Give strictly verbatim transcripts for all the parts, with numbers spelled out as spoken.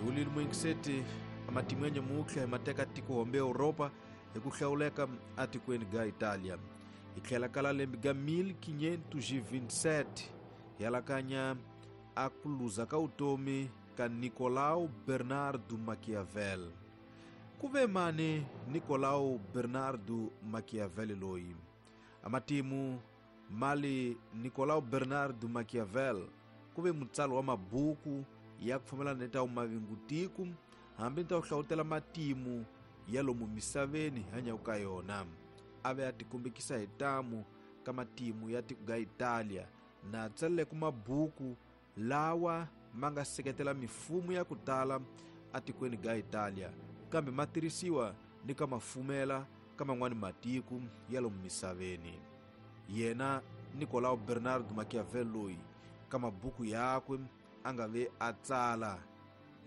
Hi wulile muyingiseti amatimu ya nyamutlha hi mateka tiko hombe Europa hi ku hlawuleka atikweni ga Italia. Hi tlhela kala lembe ga mil quinhentos e vinte e sete hi alakanya a ku luza ka vutomi ka Nicolau Bernardo Machiavelli. Ku ve mani Nicolau Bernardo Machiavelli loyi? Amatimu mali Nicolau Bernardo Machiavelli ku ve mutsari wa mabuku ya ku fambelana ni ta mavingutiku hambi ni ta ku hlawutela matimu ya lomu misaveni hi hanyaka ka yona. A ve a tikombekisa hi tamu ka matimu ya tiko ga Italia na tsaleleke mabuku lawa ma nga seketela mifumo ya ku tala atikweni ga Italia, kambe ma tirhisiwa ni ka mafumela ka man'wani matiko ya lomu misaveni. Yena Nicolau Bernardo Machiavelli loyi ka mabuku yakwe a nga ve a tsala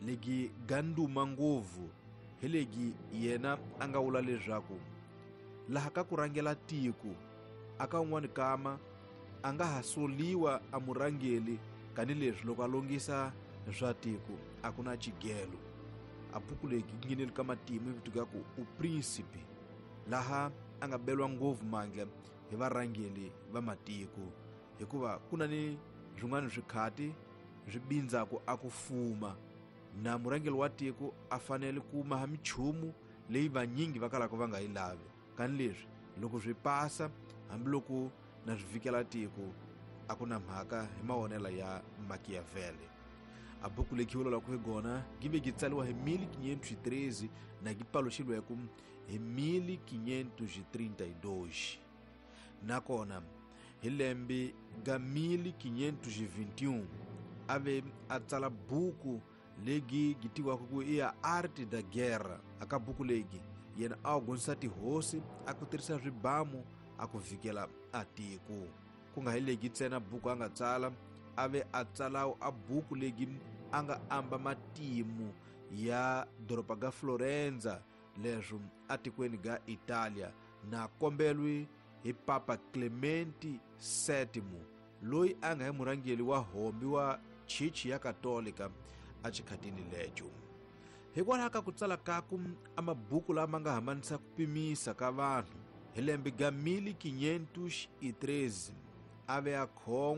legi ganduma ngopfu hi legi yena a nga vula leswaku laha ka ku rhangela tiko aka un'wani kama a nga ha soliwa a murhangeli kanileswi loko a longisa swa tiko a ku na xigelo. A buku leyi yi nghenele ka matimu yi vitiwa ku u Príncipe, laha a nga beriwa ngopfu mandla hi varhangeli va matiko, hikuva ku na ni swin'wana swikhati swi bindzaku a ku fuma na murhangeri wa tiko a fanele ku maha minchumu leyi vanyingi va kalaka va nga yi lavi. Kanileswi loko swi pasa hambiloko na swi vikela tiko a ku na mhaka hi mavonelo ya Machiavelli. A buku leyi khiwulelaka hi gona yi ve yi tsariwa hi mil quinhentos e treze na yi paluxilweke hi mil quinhentos e trinta e dois. Nakona hi lembe ga mil quinhentos e vinte e um a ve a tsala buku leyi yi tiviwaka ku i ya Arte da Guerra. Aka buku leyi yena a gonisa tihosi a ku tirhisa swibamu a ku vikela a tiko. Ku nga hi leyi ntsena buku a nga tsala, a ve a tsala a buku leyi a nga amba matimu ya doroba ga Florenza leswo atikweni ga Italia, na kombelwe hi Papa Clemente séptimo loyi a nga hi murhangeri wa hombi wa chichi ya Katolika exikhatini lecho. Hikwalaho ka ku tsala kaku a mabuku lama nga hambanisa ku pimisa ka vanhu, hi lembe ga mil quinhentos e treze a ve a khon'wa